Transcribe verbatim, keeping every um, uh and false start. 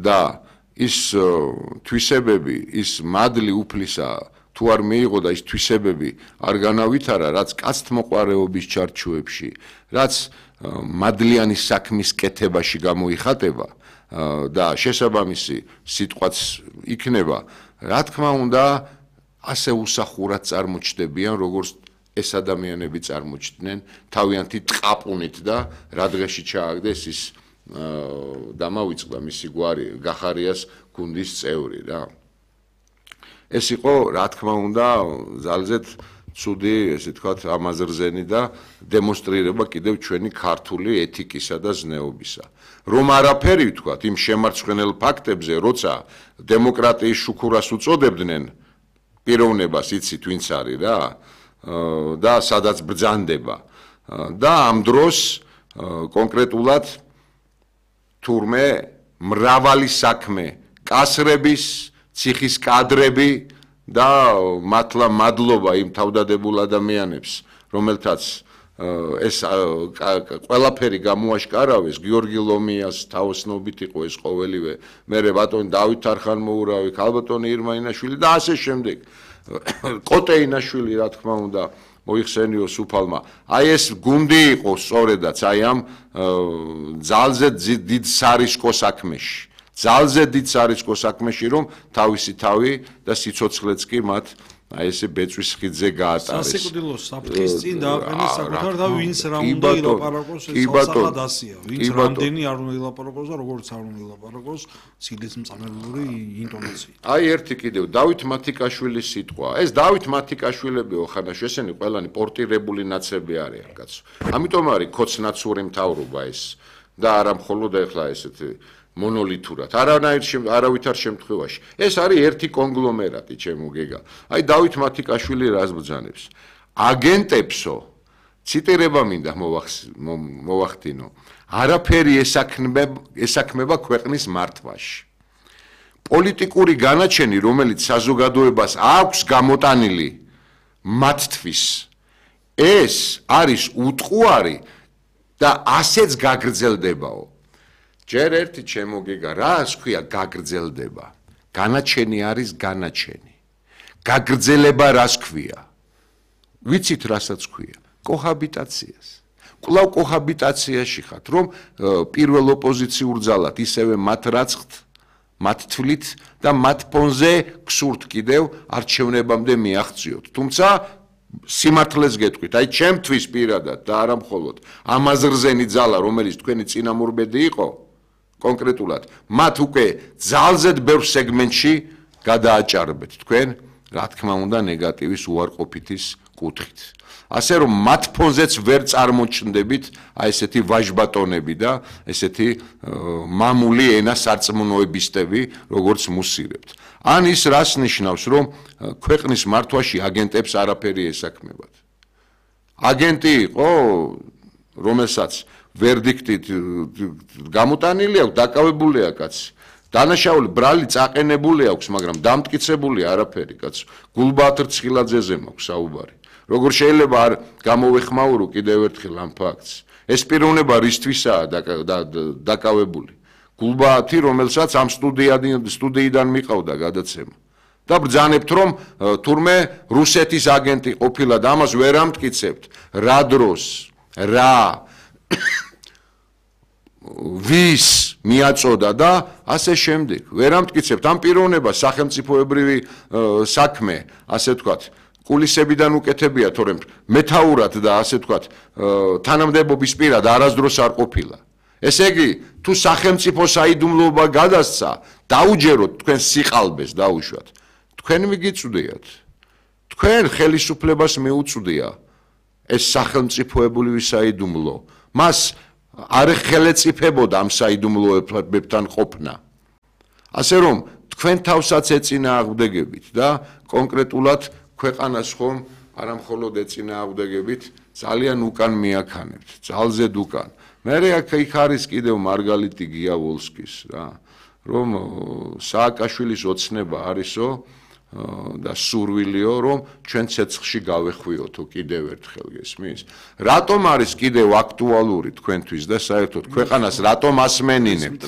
და ის თვისებები, ის მადლი უფლისა თუ არ მიიღო და ის თვისებები არ განავითარა, რაც კაცთმოყვარეობის ჩარჩოებში, რაც მადლიანი საქმის კეთებაში გამოიხატება და შესაბამისი სიტყვაც იქნება, რა თქმა უნდა, ასე უსახურად წარმოჩნდებიან, როგორც ეს ადამიანები წარმოჩნდნენ თავიანთი ტყაპუნით და რა დღეში ჩააგდეს ის დამავიწყდა მისი გვარი გახარიას გუნდის წევრი რა. ეს იყო რა თქმა უნდა ძალზედ ცუდი, ესე ვთქვათ, ამაზრზენი და დემონსტრირება კიდევ ჩვენი ქართული ეთიკისა და ზნეობისა. რომ არაფერი ვთქვათ იმ შემარცხვენელ ფაქტებზე, როცა დემოკრატიის შუქურას უწოდებდნენ პიროვნებას, იცით ვინც არის რა და სადაც ბრძანდება და ამ დროს კონკრეტულად თურმე მრავალი საქმე კასრების, ციხის კადრები და მართლა მადლობა იმ თავდადებულ ადამიანებს, რომელთაც ეს ყველაფერი გამოაშკარავეს, გიორგი ლომიას თაოსნობით იყო ეს ყოველივე, მერე ბატონი დავით არხანმოურავი, ქალბატონი ირმა ინაშვილი და ასე შემდეგ. კოტე ინაშვილი, რა თქმა უნდა, მოიხსენიო სუფალმა. აი ეს გუნდი იყო სწორედაც აი ამ ძალზე დიდ სარისკო საქმეში. ძალზე დიდ სარისკო საქმეში, რომ თავისი თავი და სიცოცხლეც კი მათ აი ესე ბეწვის ხიდზე გაატარეს. სასიკვდილო საფრთხის წინ დააყენეს საკუთარ და ვინც რა უნდა ილაპარაკოს ეს სასახად ასია. ვინც რამდენი არ უნდა ილაპარაკოს და როგორც არ უნდა ილაპარაკოს ცილისმწამებლური ინტონაციით. აი ერთი კიდევ დავით მათიკაშვილის სიტყვა. ეს დავით მათიკაშვილებიო ხანაში ესენი ყველანი პორტირებული ნაცები არიან კაცო. ამიტომ არის ქოცნაცური მთავრობა ეს და არა მხოლოდ ეხლა ესეთი მონოლითურად, არანაირ არავითარ შემთხვევაში. ეს არის ერთი კონგლომერატი, ჩემო გეგა. აი დავით მათიკაშვილი რას ბრძანებს? აგენტებსო, ციტირება მინდა მოვახდინო, არაფერი ესაქმება ქვეყნის მართვაში. პოლიტიკური განაჩენი, რომელიც საზოგადოებას აქვს გამოტანილი მათთვის, ეს არის უტყუარი და ასეც გაგრძელდებაო. ჯერ ერთი ჩემო გეგა, რას ქვია გაგრძელდება? განაჩენი არის განაჩენი. გაგრძელება რას ქვია? ვიცით რასაც ქვია? კოჰაბიტაციას. კვლავ კოჰაბიტაციაში ხართ, რომ პირველ ოპოზიციურ ძალად ისევე მათ რაცხთ, მათ თვლით და მათ ფონზე გსურთ კიდევ არჩევნებამდე მიაღწიოთ. თუმცა სიმართლეს გეტყვით, აი ჩემთვის პირადად და არა მხოლოდ ამაზრზენი ძალა, რომელიც თქვენი წინამორბედი იყო, კონკრეტულად, მათ უკვე ძალზედ ბევრ სეგმენტში გადააჭარბეთ თქვენ, რა თქმა უნდა, ნეგატივის უარყოფითის კუთხით. ასე რომ მათ ფონზეც ვერ წარმოჩნდებით აი ესეთი ვაჟბატონები და ესეთი მამული ენა სარწმუნოებისტები, როგორც მუსირებთ. ან ის რას ნიშნავს, რომ ქვეყნის მართვაში აგენტებს არაფერი ესაქმებათ. აგენტი იყო, რომელსაც ვერდიქტით გამოტანილი აქვს, დაკავებულია კაცი. დანაშაული ბრალი წაყენებული აქვს, მაგრამ დამტკიცებული არაფერი კაცო. გულბაათ რცხილაძეზე მაქვს საუბარი. როგორ შეიძლება არ გამოვეხმაურო კიდევ ერთხელ ამ ფაქტს? ეს პიროვნება რისთვისაა დაკავებული? გულბაათი, რომელსაც ამ სტუდიიდან მიყავდა გადაცემა. და ბრძანებთ, რომ თურმე რუსეთის აგენტი ყოფილა და ამას ვერ ამტკიცებთ. რა დროს? რა? ვის მიაწოდა და ასე შემდეგ. ვერ ამტკიცებთ ამ პიროვნებას სახელმწიფოებრივი საქმე, ასე ვთქვათ, კულისებიდან უკეთებია, თორემ მეთაურად და ასე ვთქვათ, თანამდებობის პირად არასდროს არ ყოფილა. ესე იგი, თუ სახელმწიფო საიდუმლოება გადასცა, დაუჯეროთ თქვენ სიყალბეს დაუშვათ. თქვენ მიგიწვდიათ. თქვენ ხელისუფლებას მიუწვდია ეს სახელმწიფოებრივი საიდუმლო. მას არ ხელეწიფებოდა ამ საიდუმლოებთან ყოფნა. ასე რომ, თქვენ თავსაც ეწინააღმდეგებით და კონკრეტულად ქვეყანას ხომ არა მხოლოდ ეწინააღმდეგებით, ძალიან უკან მიაქანებთ, ძალზედ უკან. მერე აქ იქ არის კიდევ მარგალიტი გიავოლსკის რა, რომ სააკაშვილის ოცნება არისო და სურვილიო, რომ ჩვენ ცეცხლში გავეხვიოთო კიდევ ერთხელ გესმის? რატომ არის კიდევ აქტუალური თქვენთვის და საერთოდ ქვეყანას რატომ ასმენინებთ?